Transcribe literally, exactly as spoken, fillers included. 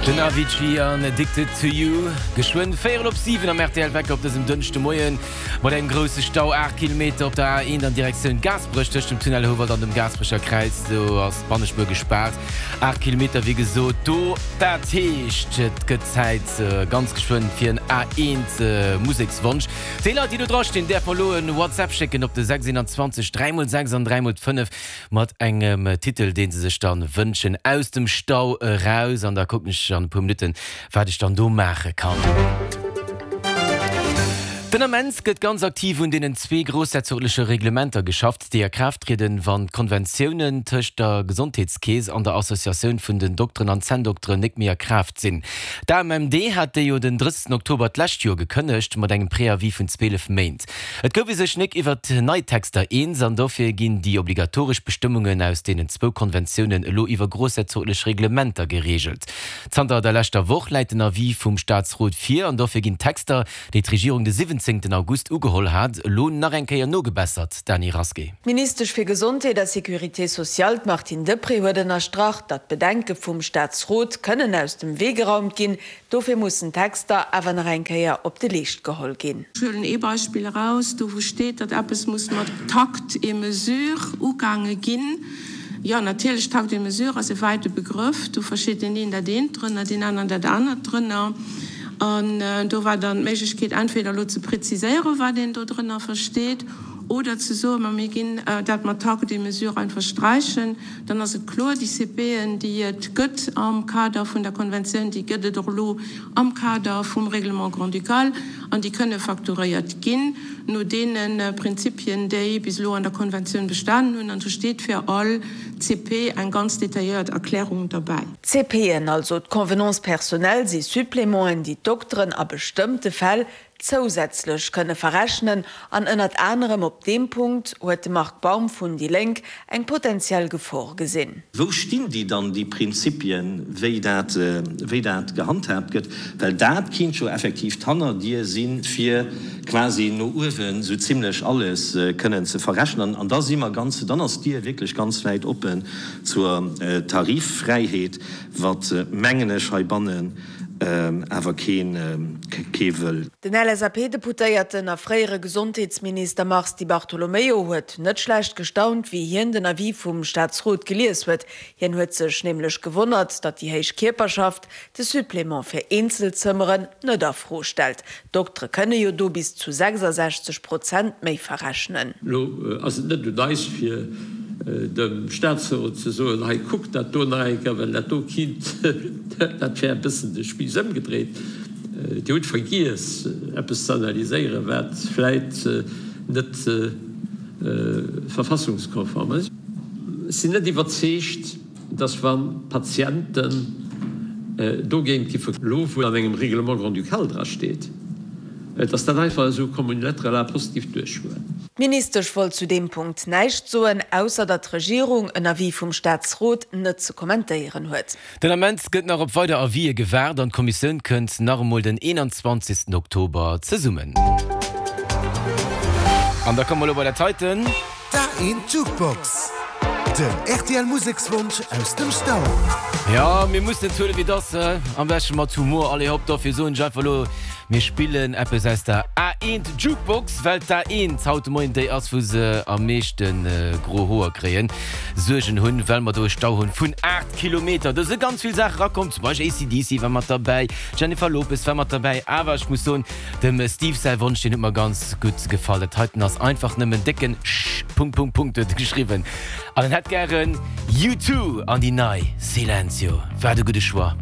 Den Avicii an Addicted to You. Geschwënn véierel op siwen am R T L Wecker op dësem Dënschdemoien mat engem grousse Stau, aacht Kilometer op der A eent an Direktioun Gaasperech tëscht dem Tunnel Houwald an dem Gaasperecher Kräiz. Do ass d'Bannespuer gespaart. Aacht Kilometer wéi gesot do. Dat heescht et gëtt Zäit ganz geschwënn fir en A eent Musekswonsch. Déi Leit déi do dra stinn däerfe elo en WhatsApp schécken op de sechs eenanzwanzeg dräi mol sechs an dräi mol d'fënnef mat engem Titel deen se sech dann wënschen aus dem Stau eraus an da kucken ech an e puer Minutten wat ech dann do maache kann. Den Ament gëtt ganz aktiv un deenen zwee groussherzogleche Reglementer geschafft, déi a Kraaft trieden, wann d'Konventiounen tëscht der Gesondheetskeess an der Associatioun vun den Dokteren an Zänndokteren net méi a Kraaft sinn. D'A M M D hat déi jo den drëssegsten Oktober d'lescht Joer gekënnegt, mat engem Préavis vun zwielef Méint. Et gouf ee sech net iwwert nei Texter eens an dofir ginn déi obligatoresch Bestëmmungen aus deenen zwou Konventiounen elo iwwer groussherzoglech Reglementer gereegelt. Zanter der leschter Woch läit den Avis vum Staatsrot vir an dofir ginn d'Texter, déi d'Regierung de siwwenzéngten August ugeholl hat, elo nach eng Kéier nogebessert, Dany Rasqué. D'Ministesch fir Gesondheet a Sécurité sociale, d'Martine Deprez, huet ënnerstrach, datt d'Bedenke vum Staatsrot kënnen aus dem Wee geraumt ginn. Dofir mussen d'Texter awer nach eng Kéier op de Leescht geholl ginn. Ech huelen ee Beispill eraus, do wou steet, datt eppes muss mat Takt et mesure ugaange ginn. Jo, natierlech, Takt et mesure ass e wäite Begrëff, do versteet deen een dat eent drënner, deen aneren dat anert drënner. An do war dann d'Méiglechkeet, entweder elo ze preziséieren, wat een do drënner versteet, oder ze soen, ma mir ginn dat mat Takt et mesure einfach sträichen. Dann ass et kloer, déi C P'en, déi et gëtt am Kader vun der Konventioun, déi gëtt et och elo am Kader vum Règlement grand-ducal an déi kënne facturéiert ginn no deene Prinzipien, déi bis elo an der Konventioun bestanen hunn. An do steet fir all C P eng ganz detailléiert Erklärung derbäi. C P'en, also d'Convenances personnelles, si Supplémenten, déi d'Dokteren a bestëmmte Fäll zousätzlech kënne verrechnen an ënnert anerem op deem Punkt huet de Marc Baum vun déi Lénk eng potenziell Gefor gesinn. Wou stinn déi dann, déi Prinzipien, wéi dat, wéi dat gehandhaabt gëtt? Well dat kinnt jo effektiv d'Hannerdier sinn, fir quasi no uewen sou zimlech alles kënnen ze verrechnen. An da si mer ganz, dann ass d'Dier wierklech ganz wäit oppen zur Tariffräiheet, wat, mengen ech, heibannen awer keen, kee wëll. Den L S A P-Deputéierten a fréiere Gesondheetsminister Mars Di Bartolomeo huet net schlecht gestaunt, wéi hien den Avis vum Staatsrot gelies huet. Hien huet sech nämlech gewonnert, datt déi héich Kierperschaft de Supplément fir Eenzelzëmmeren net a Fro stellt. D'Doktere kënne jo do bis zu sechsasechzeg Prozent méi verrechnen. Lo ass et net un eis, fir dem Staatsrot ze soen, hei kuckt dat do nach eng Kéier, well dat do kinnt, dat wär e bëssen de Spiiss ëmgedréit. Dir hutt vergiess eppes ze analyséieren, wat vläit net verfassungskonform ass. Ech sinn net iwwerzeegt, dass wa Patienten dogéint giffe, elo wou an engem Règlement grand-ducal drasteet, dass dat einfach esou comme une lettre à la poste giff duerchgoen. D'Ministesch wollt zu deem Punkt näischt soen, ausser datt d'Regierung en Avis vum Staatsrot net ze kommentéieren huet. Den Ament gëtt nach op weider Avisë gewaart an d'Kommissioun kënnt nach emol den eenanzwanzegsten Oktober zesummen. An da komme mer elo bei dat heiten. D'A eent Jukebox, den R T L Musekswonsch aus dem Stau. Jo, mir mussen et huelen, wéi et ass, am beschte mat Humor. Allez hopp, dofir soen ech einfach elo, mir spillen eppes aus der A eent Jukebox, well d'A eent haut de Moien déi ass, wou se am meeschte gro Hoer kréien, Suergen hunn, well mer do e Stau hunn vun aacht Kilometer. Do si ganz vill Saache erakomm, zum Beispill A C D C war mat derbäi, d'Jennifer Lopez war mat derbäi, awer ech muss soen, dem Steve säi Wonsch, deen huet mer ganz gutt gefall. Dat heiten ass einfach nëmmen décken Sch Punkt Punkt Punkt huet e geschriwwen an en hätt gären U two an déi nei Silencio. Wat e gudde Choix.